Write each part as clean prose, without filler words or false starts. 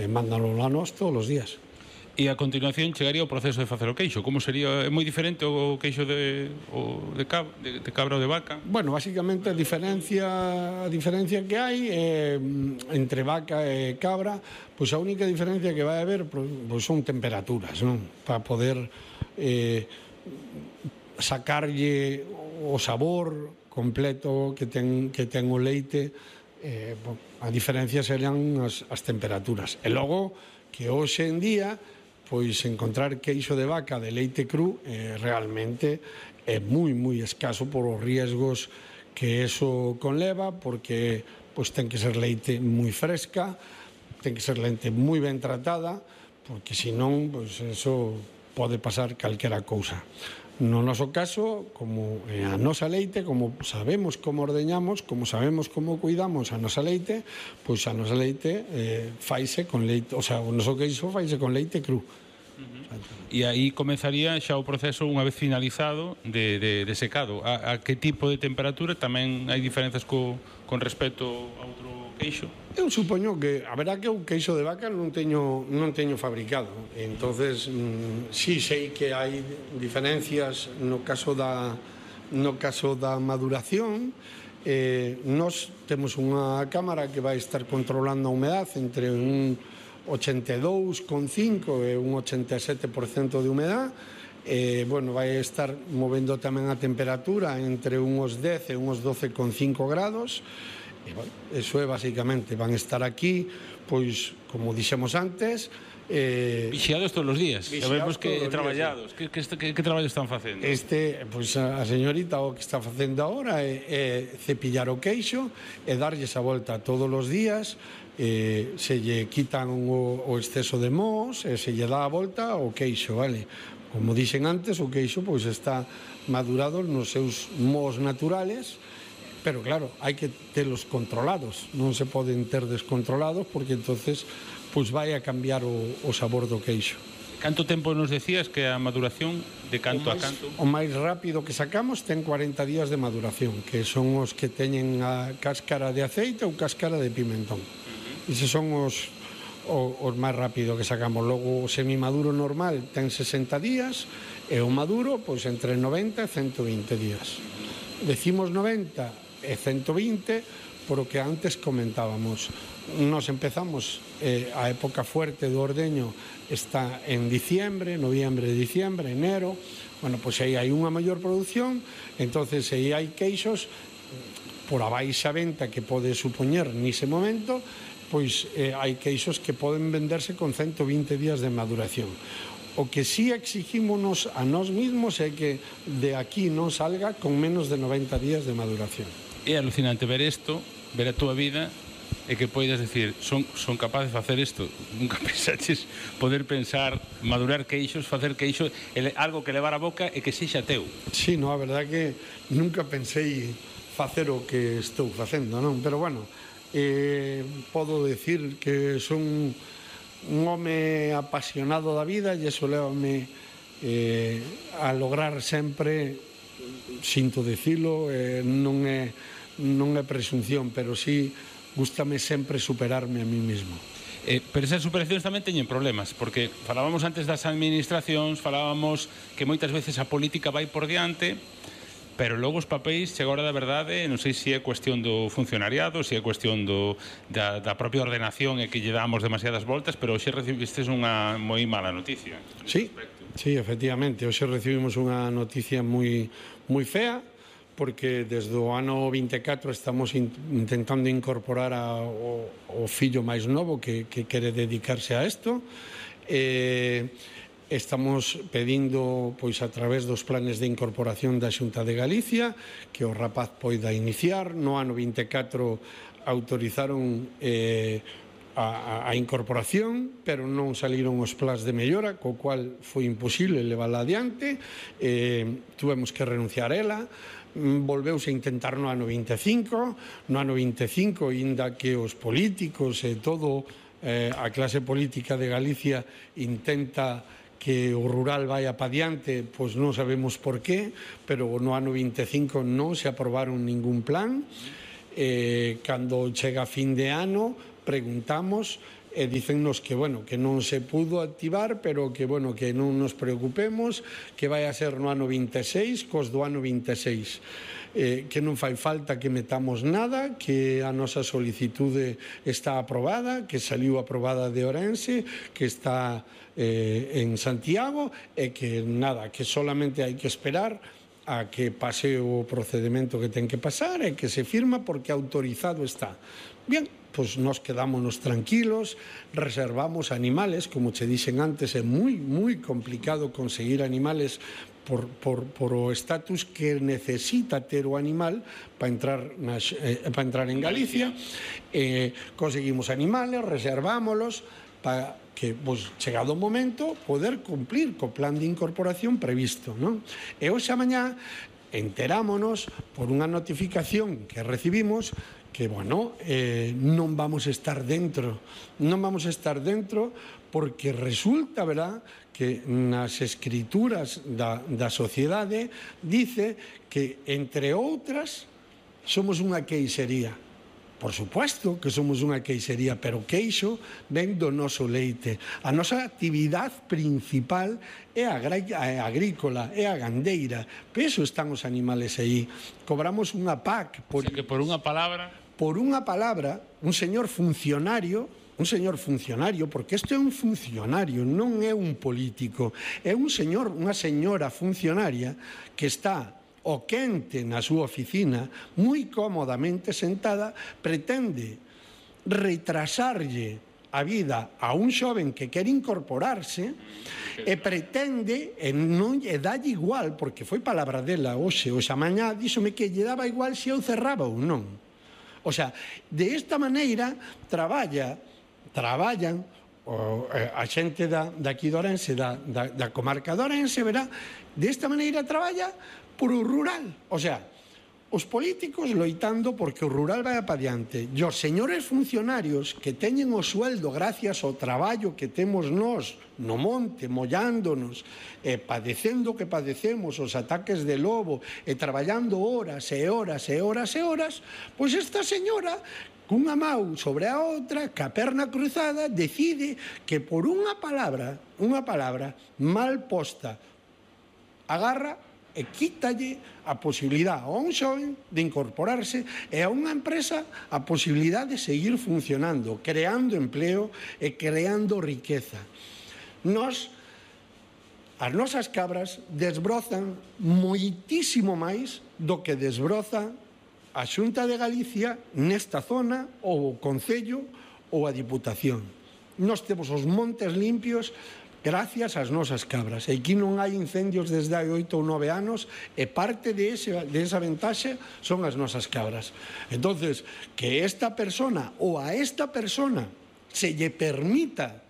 mándalo a nós todos os días. E a continuación chegaría o proceso de facer o queixo. Como sería? É moi diferente o queixo de cabra ou de vaca? Bueno, basicamente a diferencia que hai entre vaca e cabra, pois a única diferencia que vai haber pois son temperaturas, non? Para poder sacarlle o sabor completo que ten o leite. A diferencia serían as temperaturas. E logo que hoxe en día pois encontrar queixo de vaca de leite cru realmente é moi escaso por os riesgos que eso conleva, porque pois ten que ser leite moi fresca, ten que ser leite moi ben tratada, porque senón pois eso pode pasar calquera cousa. No noso caso, como a nosa leite, como sabemos como ordeñamos, como sabemos como cuidamos a nosa leite, pois a nosa leite faise con leite, o sea, o noso queixo faise con leite cru. E aí comezaría xa o proceso unha vez finalizado de secado. A que tipo de temperatura? Tamén hai diferenzas con respecto a outro queixo? Eu supoño que, a verdad que o queixo de vaca non teño fabricado, entonces sí sei que hai diferencias no caso da maduración. Nós temos unha cámara que vai estar controlando a humedade entre un 82,5 e un 87% de humedade. Vai estar movendo tamén a temperatura entre uns 10 e uns 12,5 grados. Eso é basicamente, van estar aquí, pois, como dixemos antes, vixiados todos os días. Sabemos que traballados. Que traballo están facendo? Pois a señorita o que está facendo agora é cepillar o queixo e darlles a volta todos os días. Se lle quitan o exceso de mos e se lle dá a volta o queixo, vale? Como dixen antes, o queixo pois está madurado nos seus mos naturales, pero claro, hai que telos controlados, non se poden ter descontrolados porque entonces pois vai a cambiar o sabor do queixo. Canto tempo nos decías que a maduración de canto a canto? O máis rápido que sacamos ten 40 días de maduración, que son os que teñen a cáscara de aceite ou cáscara de pimentón. Eses son os máis rápido que sacamos. Logo o semimaduro normal ten 60 días e o maduro pois entre 90 e 120 días. Decimos 90 e 120 por o que antes comentábamos. Nos empezamos a época fuerte do ordeño está en diciembre, noviembre, diciembre, enero. Bueno, pois aí hai unha maior produción, entonces aí hai queixos por a baixa venta que pode supoñer nese momento, pois hai queixos que poden venderse con 120 días de maduración. O que sí exigímonos a nós mismos é que de aquí non salga con menos de 90 días de maduración. É alucinante ver isto, ver a túa vida e que poidas decir, son capaz de facer isto. Nunca pensaches poder pensar, madurar queixos, facer queixo, algo que levar a boca e que sexa teu. Sí, no, a verdade que nunca pensei facer o que estou facendo, non? Pero bueno, podo decir que son un home apasionado da vida e iso levame a lograr sempre, sinto dicilo, non é presunción, pero sí gústame sempre superarme a mí mismo. Pero esas superacións tamén teñen problemas, porque falábamos antes das administracións, falábamos que moitas veces a política vai por diante, pero logo os papéis, chega a hora da verdade, non sei se é cuestión do funcionariado, se é cuestión da propia ordenación e que lle damos demasiadas voltas, pero hoxe recibistes unha moi mala noticia. Sí, efectivamente, hoxe recibimos unha noticia moi fea, porque desde o ano 24 estamos intentando incorporar o fillo máis novo que quere dedicarse a isto. Estamos pedindo, pois, a través dos planes de incorporación da Xunta de Galicia, que o rapaz poida iniciar. No ano 24 autorizaron a incorporación, pero non saliron os plans de mellora, co cual foi imposible levála adiante. Tuvemos que renunciar a ela. Volveuse a intentar no ano 25. No ano 25, inda que os políticos e todo a clase política de Galicia intenta que o rural vai pa diante, pois non sabemos por qué, pero no ano 25 non se aprobaron ningún plan. Cando chega a fin de ano preguntamos e dícennos que, bueno, que non se pudo activar, pero que, bueno, que non nos preocupemos, que vai a ser no ano 26, cos do ano 26. Que non fai falta que metamos nada, que a nosa solicitude está aprobada, que saliu aprobada de Ourense, que está en Santiago, e que nada, que solamente hai que esperar a que pase o procedimento que ten que pasar e que se firma porque autorizado está. Bien, pois nos quedámonos tranquilos, reservamos animales, como che dixen antes, é moi complicado conseguir animales por o estatus que necesita ter o animal para entrar en Galicia. Conseguimos animales, reservámolos para que, pois, chegado o momento, poder cumplir co plan de incorporación previsto, non? E hoxe a mañá enterámonos por unha notificación que recibimos que, bueno, non vamos a estar dentro. Non vamos a estar dentro porque resulta, verdad, que nas escrituras da sociedade dice que, entre outras, somos unha queixería. Por supuesto que somos unha queixería, pero queixo ven do noso leite. A nosa actividade principal é a agrícola, é a gandeira. Por iso están os animales aí. Cobramos unha PAC. O sea que por unha palabra... Por unha palabra, un señor funcionario, porque isto é un funcionario, non é un político, é un señor, unha señora funcionaria que está o quente na súa oficina, moi cómodamente sentada, pretende retrasarlle a vida a un xoven que quere incorporarse e pretende, e non lle dalle igual, porque foi palabra dela hoxe a mañá, díxome que lle daba igual se eu cerraba ou non. O sea, de esta maneira traballan a xente daqui de Ourense, da comarca de Ourense, verá, de esta maneira traballa por o rural. O sea, os políticos loitando porque o rural vai pa diante. E os señores funcionarios que teñen o sueldo gracias ao traballo que temos nós no monte, mollándonos, e padecendo que padecemos os ataques de lobo, e traballando horas e horas e horas e horas, pois esta señora, cunha mau sobre a outra, ca perna cruzada, decide que por unha palabra mal posta, agarra e quítalle a posibilidade a un xoven de incorporarse e a unha empresa a posibilidade de seguir funcionando, creando empleo e creando riqueza. As nosas cabras desbrozan moitísimo máis do que desbroza a Xunta de Galicia nesta zona, ou o Concello, ou a Diputación. Nós temos os montes limpios gracias ás nosas cabras. E aquí non hai incendios desde hai 8 ou 9 anos e parte de esa ventaxe son as nosas cabras. Entonces, que esta persona ou a esta persona se lle permita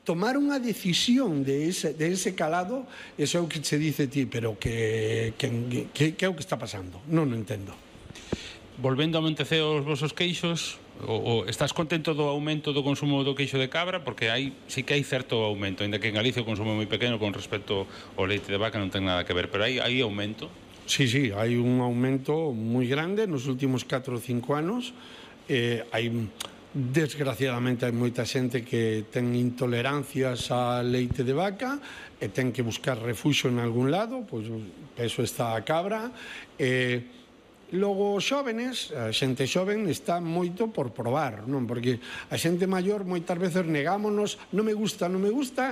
tomar unha decisión de ese calado, eso é o que se dice ti, pero que é o que está pasando? Non o entendo. Volvendo a Monteceo os vosos queixos, estás contento do aumento do consumo do queixo de cabra? Porque sí que hai certo aumento, ainda que en Galicia o consumo é moi pequeno con respecto ao leite de vaca, non ten nada que ver, pero hai aumento? Sí, hai un aumento moi grande nos últimos 4 ou 5 anos. Desgraciadamente hai moita xente que ten intolerancias a leite de vaca e ten que buscar refuxo en algún lado, pois eso está a cabra. Logo os xóvenes, a xente xoven está moito por probar, non? Porque a xente maior moitas veces negámonos, non me gusta,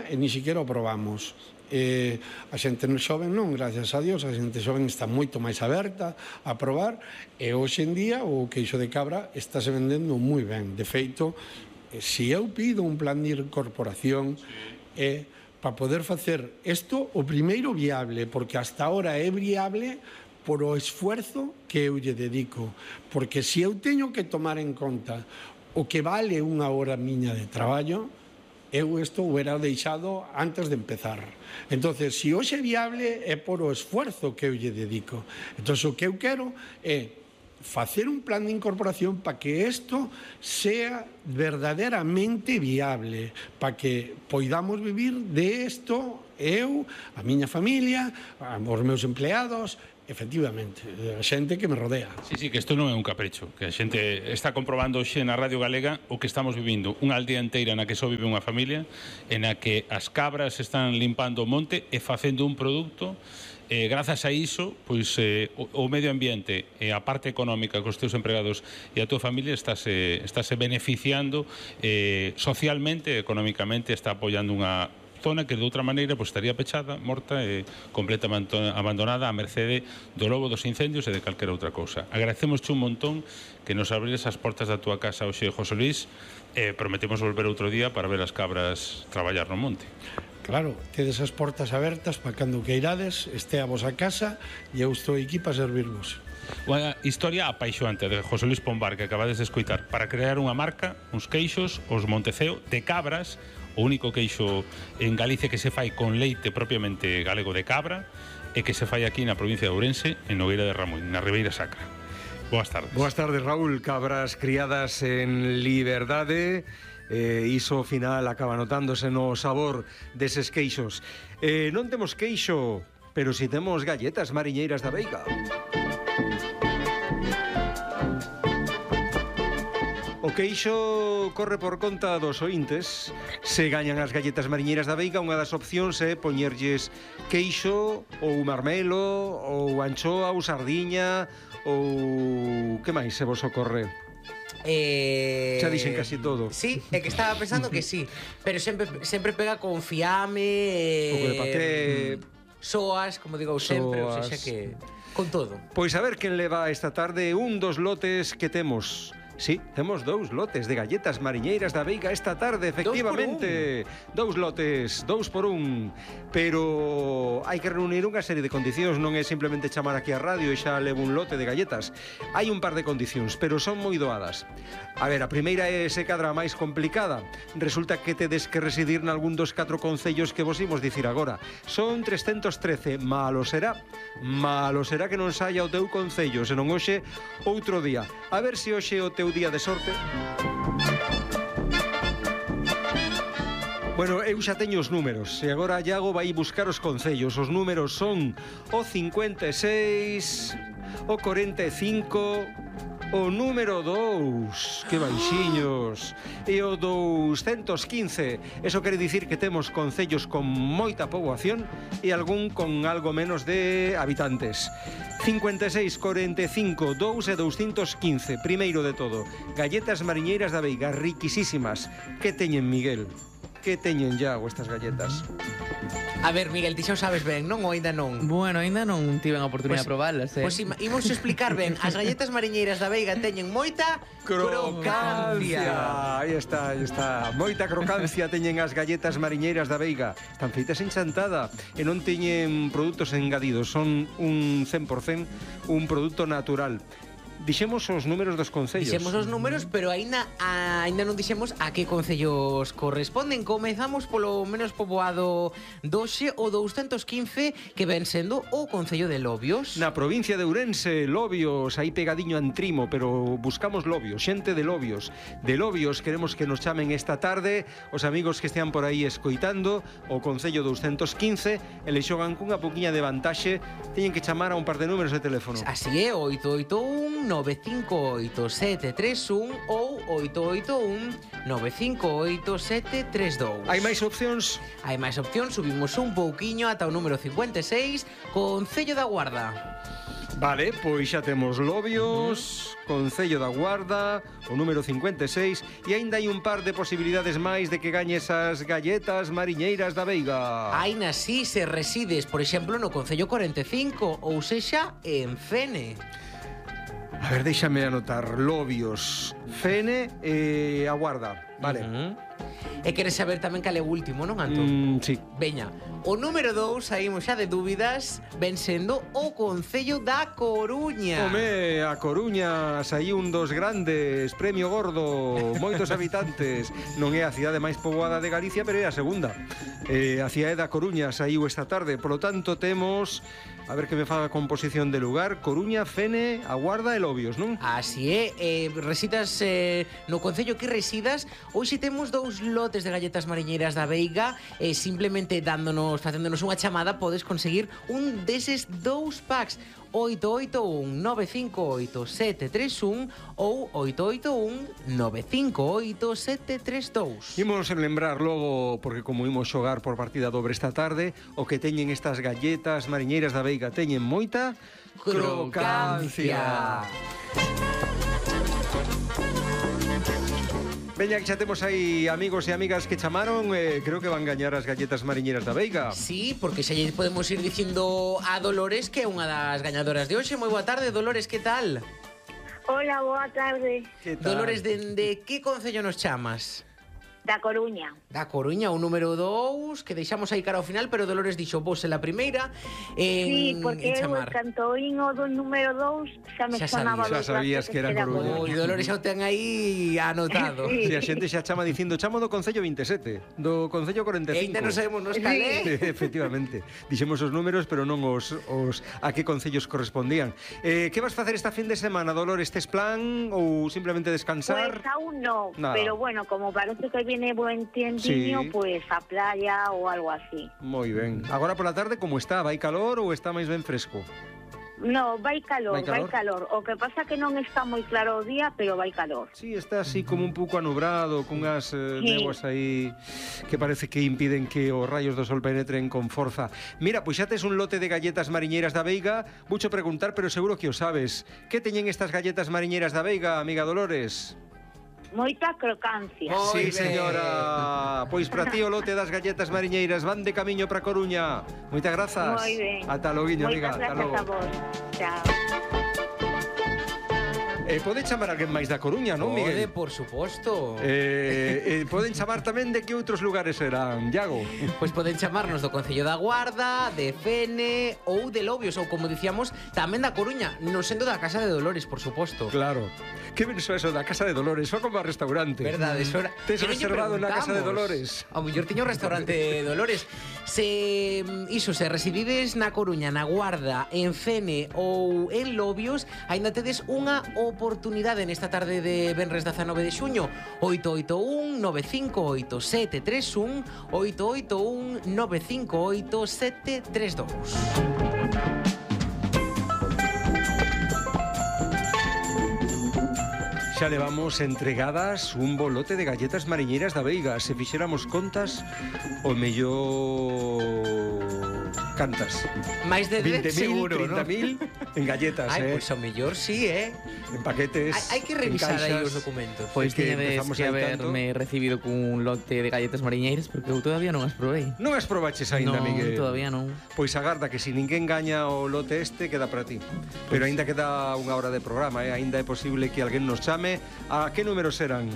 e ni siquiera o probamos. A xente xoven non, gracias a Dios, a xente xoven está moito máis aberta a probar, e hoxe en día o queixo de cabra estáse vendendo moi ben. De feito, se eu pido un plan de incorporación, para poder facer isto o primeiro viable, porque hasta ahora é viable por o esfuerzo que eu lle dedico. Porque se eu teño que tomar en conta o que vale unha hora miña de traballo, eu isto o era deixado antes de empezar. Entonces, se hoxe é viable é por o esfuerzo que eu lle dedico. Entonces, o que eu quero é facer un plan de incorporación para que isto sea verdadeiramente viable, para que poidamos vivir de isto, eu, a miña familia, os meus empleados efectivamente, a xente que me rodea. Sí, que isto non é un capricho, que a xente está comprobando hoxe na Radio Galega o que estamos vivindo, unha aldea inteira na que só vive unha familia, en a que as cabras están limpando o monte e facendo un produto. Grazas a iso, pois o medio ambiente e a parte económica cos teus empregados e a tua familia estáse beneficiando socialmente, económicamente, está apoiando unha zona que de outra maneira pois, estaría pechada, morta e completamente abandonada a mercede do lobo, dos incendios e de calquera outra cousa. Agradecemosche un montón que nos abrires as portas da túa casa hoxe, José Luis, e prometemos volver outro día para ver as cabras traballar no monte. Claro, tedes as portas abertas para cando queirades, este a vosa casa e eu estou aquí para servirvos. Unha historia apaixoante de José Luis Pombar que acabades de escoitar para crear unha marca, uns queixos, os Monteceo, de cabras, o único queixo en Galicia que se fai con leite propiamente galego de cabra e que se fai aquí na provincia de Ourense, en Nogueira de Ramuín, na Ribeira Sacra. Boas tardes. Boas tardes, Raúl. Cabras criadas en liberdade, iso ao final acaba notándose no sabor deses queixos. Non temos queixo, pero si temos galletas mariñeiras da Veiga. O queixo corre por conta dos ointes. Se gañan as galletas mariñeiras da Veiga, unha das opcións é poñerlles queixo ou marmelo ou anchoa ou sardiña ou... que máis se vos ocorre? Xa dixen casi todo. Sí, é que estaba pensando que sí, pero sempre pega con fiame, Un pouco de paté, soas, como digo sempre, ou seja que con todo. Pois a ver quen leva esta tarde un dos lotes que temos. Sí, temos 2 lotes de galletas mariñeiras da Veiga esta tarde, efectivamente. 2 lotes, 2 por 1. Pero hai que reunir unha serie de condicións, non é simplemente chamar aquí a radio e xa levo un lote de galletas. Hai un par de condicións, pero son moi doadas. A ver, a primeira é se cadra máis complicada. Resulta que tedes que residir nalgún dos 4 concellos que vos imos dicir agora. Son 313, malo será que non saia o teu concello, senón hoxe outro día. A ver se hoxe o teu día de sorte. Bueno, eu xa teño os números e agora Iago vai buscar os concellos. Os números son o 56, o 45, o número 2, que baixiños, e o 215. Eso quere dicir que temos concellos con moita poboación e algún con algo menos de habitantes. 56, 45, 2 e 215. Primeiro de todo, galletas mariñeiras da Veiga, riquisísimas. Que teñen, Miguel? Que teñen, Iago, estas galletas? A ver, Miguel, ti xa o sabes ben, non ou ainda non? Bueno, ainda non tiven a oportunidade de probalas, Pois imos explicar ben. As galletas mariñeiras da Veiga teñen moita crocancia. Aí está. Moita crocancia teñen as galletas mariñeiras da Veiga. Están feitas en chantada e non teñen produtos engadidos. Son un 100% un produto natural. Dixemos os números dos concellos. Dixemos os números, pero aínda non dixemos a que concellos corresponden. Comezamos polo menos poboado doxe, o 215, que ven sendo o concello de Lobios. Na provincia de Ourense, Lobios, aí pegadiño a Entrimo, pero buscamos Lobios, xente de Lobios. De Lobios queremos que nos chamen esta tarde os amigos que estean por aí escoitando o concello 215, e le xogan cunha poquinha de vantaxe, teñen que chamar a un par de números de teléfono. Así é, 881 958-731 ou 881-958-732. Hai máis opcións? Hai máis opcións, subimos un pouquiño ata o número 56, Concello da Guarda. Vale, pois xa temos Lobios, Concello da Guarda, o número 56, e aínda hai un par de posibilidades máis de que gañes as galletas mariñeiras da Veiga. Aínda si se resides, por exemplo, no Concello 45, ou sexa, en Fene. A ver, déixame anotar. Lobios, Fene e a Guarda. Vale. E queres saber tamén cal é o último, non, Antón? Sí. Veña, o número 2, saímos xa de dúbidas, ven sendo o Concello da Coruña. Home, a Coruña saiu un dos grandes, premio gordo, moitos habitantes. Non é a cidade máis poboada de Galicia, pero é a segunda. A cidade da Coruña saiu esta tarde, polo tanto temos... A ver que me faga composición de lugar. Coruña, Fene, a Guarda e Lobios, non? Así é, residas no concello que residas. Hoxe temos 2 lotes de galletas mariñeiras da Veiga. Simplemente facéndonos unha chamada podes conseguir un deses 2 packs. 881 958 731 ou 881 958 732. Imos lembrar logo, porque como imos xogar por partida dobre esta tarde, o que teñen estas galletas mariñeiras da Veiga teñen moita crocancia. Veña, que xa temos aí amigos e amigas que chamaron, creo que van gañar as galletas mariñeiras da Veiga. Sí, porque xa lle podemos ir dicindo a Dolores que é unha das gañadoras de hoxe. Moi boa tarde, Dolores, que tal? Hola, boa tarde. Que tal? Dolores, dende que concello nos chamas? Da Coruña. Da Coruña, o número 2, que deixamos aí cara ao final, pero Dolores dixo vos en la primeira Sí, en porque eu chamar. cando oín o do número 2 xa me Xa sonaba sabías. Xa sabías que era Coruña. Oi, Dolores xa o ten aí anotado. Sí. Si a xente xa chama dicindo chamo do Concello 27, do Concello 45. E ainda non sabemos nos calé. Efectivamente. Dixemos os números, pero non os a que concellos correspondían. Que vas facer esta fin de semana, Dolores? Tes plan ou simplemente descansar? Pues aún no, Nada. pero bueno, como parece que viene buen tiempiño, Sí. pues a playa ou algo así. Moi ben. Agora pola tarde como está? Vai calor ou está máis ben fresco? No, vai calor, Vai calor? vai calor. O que pasa que non está moi claro o día, pero vai calor. Sí, está así como un pouco anubrado, cunhas Sí. néboas aí que parece que impiden que os rayos do sol penetren con forza. Mira, pois xa tes un lote de galletas mariñeiras da Veiga. Voucho preguntar, pero seguro que o sabes. Que teñen estas galletas mariñeiras da Veiga, amiga Dolores? Moita crocancia. Sí, Moi ben. señora. Pois para ti o lote das galletas mariñeiras van de camiño para Coruña. Moitas grazas. Moi ben. Ata loguiño, amiga. Moitas Ata grazas logo. a vos. Chao. Pode chamar alguén máis da Coruña, non, Pode, Miguel? por suposto. Poden chamar tamén de que outros lugares serán, Iago? Pois poden chamarnos do Concello da Guarda, de Fene ou de Lobios, ou como dicíamos, tamén da Coruña, non sendo da Casa de Dolores, por suposto. Claro. Que ben eso da Casa de Dolores, só como a restaurante. Verdade, eso era... Tes Que non lle reservado na Casa de preguntamos. Dolores. Ao mellor tiña un restaurante de Dolores. Se residides na Coruña, na Guarda, en Fene ou en Lobios, aínda tedes unha oportunidade nesta tarde de venres 19 de xuño. 881 958 731 881 958 732. Xa levamos entregadas un bolote de galletas mariñeiras da Veiga. Se fixéramos contas, o mellor... Cantas? Máis de 10 seguro, 30.000 en galletas, Ai, pois ao mellor sí, En paquetes, Hai que revisar aí os documentos. Pois que tiñades empezamos que aí tanto. haberme recibido cun lote de galletas mariñeiras porque eu todavía non as probei. Non as probaches aínda, Non, Miguel? todavía non. Pois agarda que se ninguén gaña o lote este, queda para ti. Pero aínda queda unha hora de programa, Aínda é posible que alguén nos chame. A que números serán?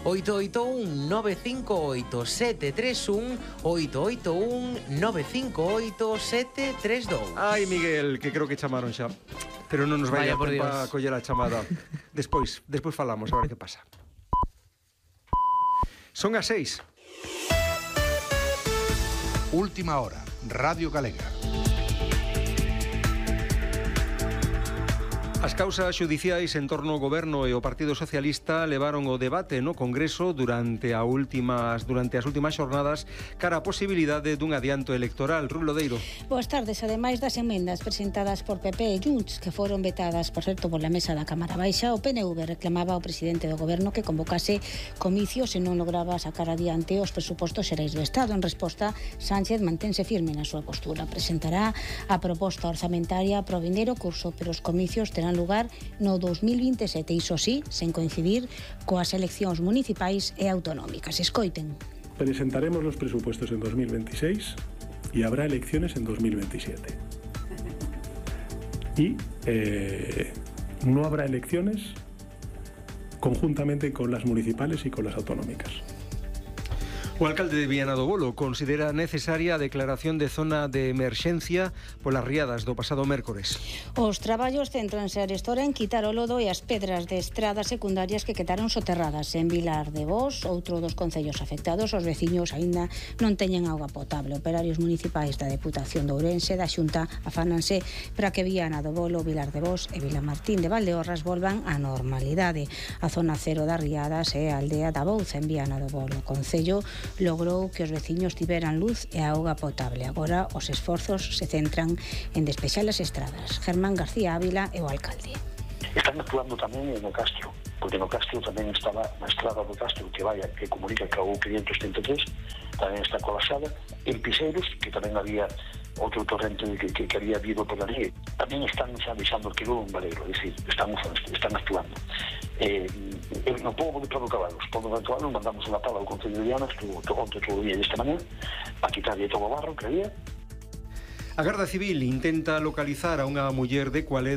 881 958 731 881 958 732. Ai, Miguel, que creo que chamaron xa. Pero non nos vai Vaya a por tempo Dios. a coller a chamada. Despois falamos, a ver que pasa. Son as 6. Última hora, Radio Galega. As causas xudiciais en torno ao Goberno e ao Partido Socialista levaron o debate no Congreso durante as últimas xornadas cara a posibilidade dun adianto electoral. Rui Lodeiro. Boas tardes. Ademais das emendas presentadas por PP e Junts, que foron vetadas, por certo, pola mesa da Cámara Baixa, o PNV reclamaba ao presidente do Goberno que convocase comicios e non lograba sacar adiante os presupostos xerais do Estado. En resposta, Sánchez mantense firme na súa postura. Presentará a proposta orzamentaria pro vindeiro curso, pero os comicios terán lugar no 2027, iso sí, sen coincidir coas eleccións municipais e autonómicas. Escoiten. Presentaremos los presupuestos en 2026 y habrá elecciones en 2027. Y no habrá elecciones conjuntamente con las municipales y con las autonómicas. O alcalde de Viana do Bolo considera necesaria a declaración de zona de emerxencia polas riadas do pasado mércores. Os traballos céntranse arestora en quitar o lodo e as pedras de estradas secundarias que quedaron soterradas en Vilar de Bos, outro dos concellos afectados. Os veciños aínda non teñen auga potable. Operarios municipais da Deputación de Ourense da Xunta afánanse para que Viana do Bolo, Vilar de Bos e Vilamartín de Valdeorras volvan á normalidade. A zona cero das riadas é a aldea da Bouza en Viana do Bolo. O concello logrou que os veciños tiveran luz e auga potable. Agora os esforzos se centran en despexar as estradas. Germán García Ávila é o alcalde. Están actuando tamén no Castro, porque no Castro tamén estaba na estrada do Castro que comunica que o 533 tamén está colapsada. En Piseiros, que tamén había outro torrente que había habido por ali, tamén están xa deixando que un valeiro, é dicir, están actuando. No pobo de Prado Cabalos, mandamos unha pala ao Concello de Viana, estuvo onte todo o día desta mañana, para quitarlle todo o barro que había. A Garda Civil intenta localizar a unha muller de Cualeda